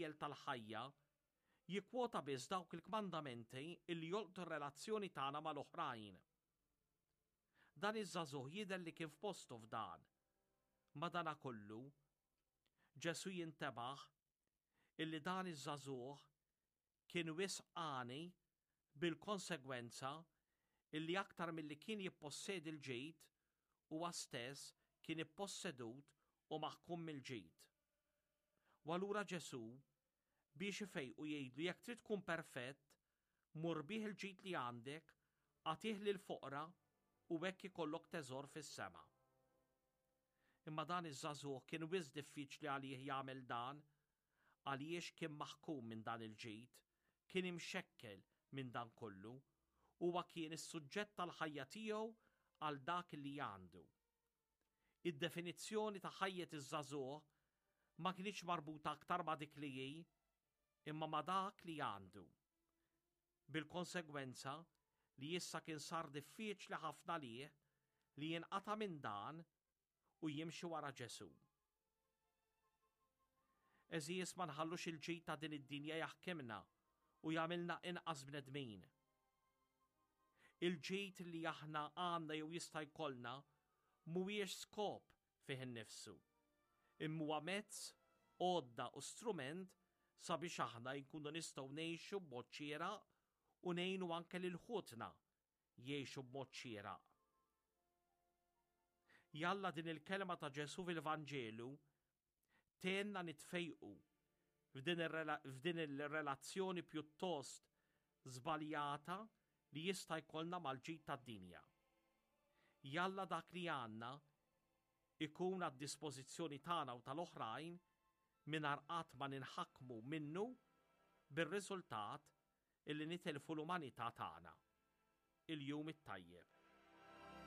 l-iskejjel tal-ħajja jikkwota biss dawk il-kmandamenti illi jolqtu r-relazzjoni tagħna mal-oħrajn. Dan iż-żagħżugħ jidher li kien f'postu f'dan. Madanakollu, Ġesù jintebaħ illi dan iż-żagħżugħ kien wisq għani bil-konsegwenza illi aktar milli kien jippossedi l-ġid, huwa stess kien ippossedut u maħkum mill-ġid. U allura Ġesù, biex ifejqu jgħidlu jekk trid tkun perfett, mur bigħ il-ġid li għandek, agħtih lill-foqra u hekk ikollok teżor fis-sema. Imma dan iż-żagħżugħ kien wisq diffiċli għalih jagħmel dan għaliex kien maħkum minn dan il-ġid, kien imxekkel minn dan kollu, huwa kien is-suġġett tal-ħajja tiegħu għal dak li għandu. Id-definizzjoni ta' ħajjet iż-żagħżugħ ma kinitx marbuta aktar ma' dik li hi, imma ma' dak li għandu. Bil-konsegwenza li issa kien sar diffiċli ħafna għalih li jinqata' minn dan u jimxi wara Ġesù. Għeżież ma nħallux il-ġid ta' din id-dinja jaħkimna u jagħmilna inqas bnedmin. Il-ġid li aħna għandna jew jista' jkollna mhuwiex skop fih innifsu, imma huwa mezz, għodda u strument sabiex aħna jkunu nistgħu ngħixu b'mod xieraq u ngħinu anke lil ħutna jgħixu b'mod xieraq. Jalla din il-kelma ta' Ġesù fil-Vanġelu tgħinna nitfejqu f'din il-relazzjoni pjuttost żbaljata li jista' jkollna mal-ġid tad-dinja. Jalla dak li għandna ikun għad-dispożizzjoni tagħna u tal-oħrajn mingħajr qatt ma ninħakmu minnu bir-riżultat illi nitilfu l-umanità tagħna. Il-jum it-tajjeb.